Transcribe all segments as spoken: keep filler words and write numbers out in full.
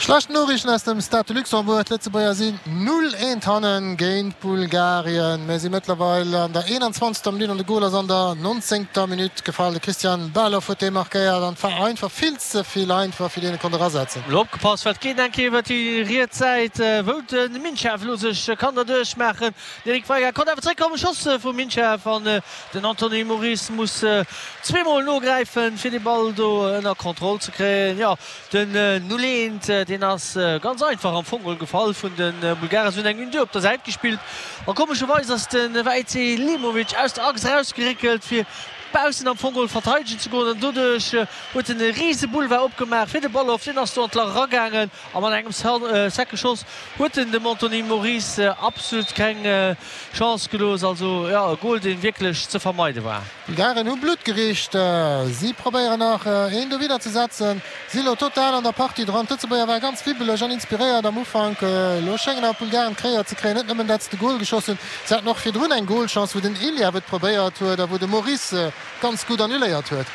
Schlecht Noriichten aus dem Stade de Luxembourg, D'Lëtzebuerger sinn null eent hannen géint Bulgarien. Mir si mëttlerweil an der eenanzwanzegster Minutt an de Gol ass an der nonzéngter Minutt gefall. De Christian Baloff huet dee markéiert an et war einfach vill ze vill einfach fir deen e konnt erasetzen. Elo opgepasst, well et geet eng Kéier iwwer déi riets Säit, wou de Minchev elo sech kann derduerch maachen. Den Eric Veiga konnt awer zréckkommen, Schoss vum Minchev an den Anthony Moris muss zweemol nogräifen, fir de Ball do ënner Kontroll ze kréien. Jo, den null eent, deen ass ganz einfach am Fong gefall vun de Bulgaren. Se hunn eng Une-deux op der Säit gespillt a komescherweis ass de Wäitse Limovic aus der Achs erausgeréckelt, fir baussen am Fong verteidegen ze goen an doduerch huet en e rise Boulevard opgemaach fir de Baloff. Deen ass do an d'Lach eragaangen a mat engem secke Schoss huet en dem Anthony Moris absolut keng Chance gelooss. Also jo, e Gol deen wierklech ze vermeide war. D'Bulgaren hu Blutt gericht. Si probéieren nach een dowidder ze setzen. Si elo total an der Partie dran. D'Lëtzebuerger ware ganz wibbeleg an inspiréiert am Ufank. Elo schéngen awer d'Bulgaren d'Kréier ze kréien. Net nëmmen dat se de Gol geschoss hunn, se haten och virdrun eng Golchance, wou den Iliev et probéiert huet a wou de Moris ganz gutt annuléiert huet.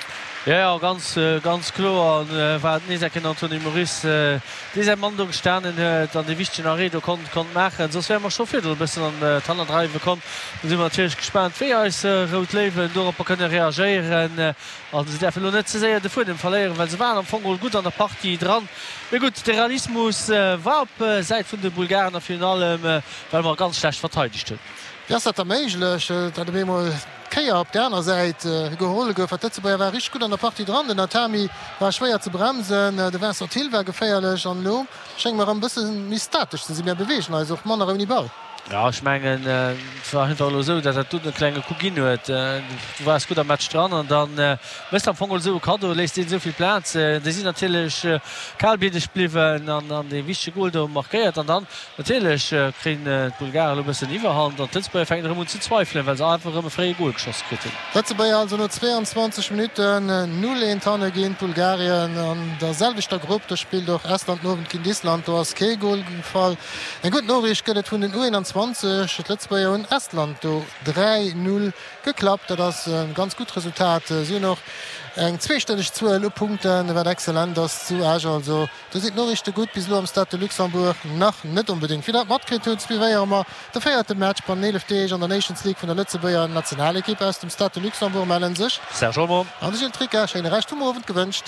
Jo, jo, ganz, ganz kloer war et nees enk den Anthony Moris, dee säi Mann do gestanen huet an dee wichtegen Arrêt do konnt, konnt maachen. Soss wäre mer scho virdrun e bëssen an d'Hannerdreiwe komm. Do si mer natierlech gespaant, wéi eis Rout Léiwen doropper kënne reagéieren. A se däerfen elo net ze séier de Fuedem verléieren, well se waren am Fong geholl gutt an der Partie dran. Mee gutt, de Realismus war op Säit vun de Bulgaren a virun allem, well mer ganz schlecht verteidegt hunn. Wéi ass dat da méiglech, datt op eemol d'Kéier op där aner Säit geholl gouf? Well d'Lëtzebuerger ware richteg gutt an der Partie dran. Den Atami war schwéier ze bremsen, de Vincent Thill war geféierlech an elo schénge mer erëm e bësse méi statesch ze sinn. Mir beweegen eis och manner ouni Ball. Jo, ech mengen, et war einfach elo esou, datt dat dunn e klenge Coup ginn huet. Du waars gutt am Match dran an da méchs de am Fong esou e Kaddo, léiss deenen esou vill Plaz. Déi sinn natierlech kalbliddeg bliwwen an dee wichtege Gol do markéiert. An dann natierlech kréien d'Bulgaren elo e bëssen Iwwerhand an d'Lëtzebuerger fänken erëm un ze zweifelen, well se einfach erëm e fréie Gol geschoss kritt hunn. D'Lëtzebuerger also no zweeanzwanzeg Minutten null eent hanne géint Bulgarien. An der selwechter Grupp, do spillt och Estland den Owend géint Island, do ass kee Gol gefall. Eng gutt Noriicht gëtt et vun den U einundzwanzeg D'Lëtzebuerger hunn Estland do dräi null geklappt. Dat ass e ganz gutt Resultat. Si hunn och eng zweestelleg Zuel u Punkten, wat excellent ass zu Esch. Also do sinn d'Noriichte gutt bis elo am Stade de Luxembourg nach net onbedéngt. Wéi der et matkritt hutt, suivéiere mer de véierte Match bannent eelef Deeg an der Nations League vun der Lëtzebuerger Nationalekipp. Aus dem Stade de Luxembourg mellen sech Serge Olmo an de Gilles Tricca. Schéine Rescht vum Owend gewënscht.